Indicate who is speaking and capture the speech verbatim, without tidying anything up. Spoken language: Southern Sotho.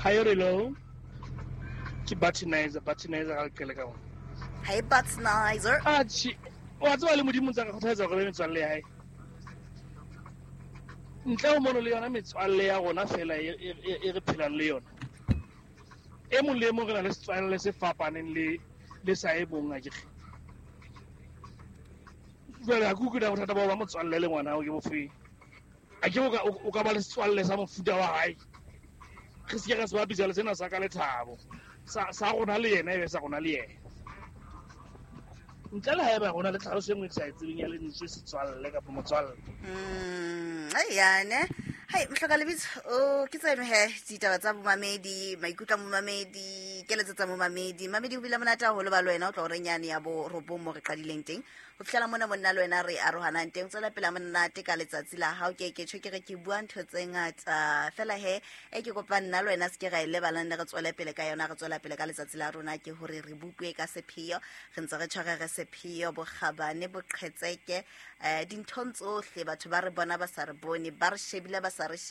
Speaker 1: Hi hello. Ke Butonizer, Butonizer ga le ka ona.
Speaker 2: Hi Butonizer.
Speaker 1: Atjhe, wa tseba le Modimo ntse a ka kgothaletsa hore be metswalle ya hae. Ntle ho mono le yona metswalle ya rona fela e e re phelang le yona. E mong le e mong re na le setswalle se fapaneng le le sa e mong akere. Jwale ha ke utlwe na bothata ba ho ba motswalle le ngwana hao ke bofeng. A ke o ka ba le setswalle sa mofuta wa hae. Re se ke ra se bapisa le sena sa ka Lethabo. Sa sa rona le yena e be sa rona le yena. Ntle le haeba rona le tlhaloso e nngwe ke sa e tsebeng ya lentswe setswalle kapa motswalle.
Speaker 2: Mm, yane. Hai, mohloka lebitso, o ke tseno he ditaba tsa bomamedi, maikutlo a momamedi, keletso tsa momamedi. Mamedi o bile monate haholo ba le wena o tla hore nyane ya bo robong mo re qadileng teng. Ho fihlela mona monna le wena re arohanang teng. Tswela pele monate ka letsatsi la hao. Ke ke tjho ke re ke bua ntho tse ngata. Fela he e ke kopa nna le wena se ke ra e lebalang re tswele pele ka yona, re tswela pele ka letsatsi la rona ke hore re bupwe ka sepheo. Re ntse re tshware re sepheo, bokgabane, boqhetseke, eh dinthong tsohle batho ba re bona ba sa re bone, ba re shebile ba sa re shebe.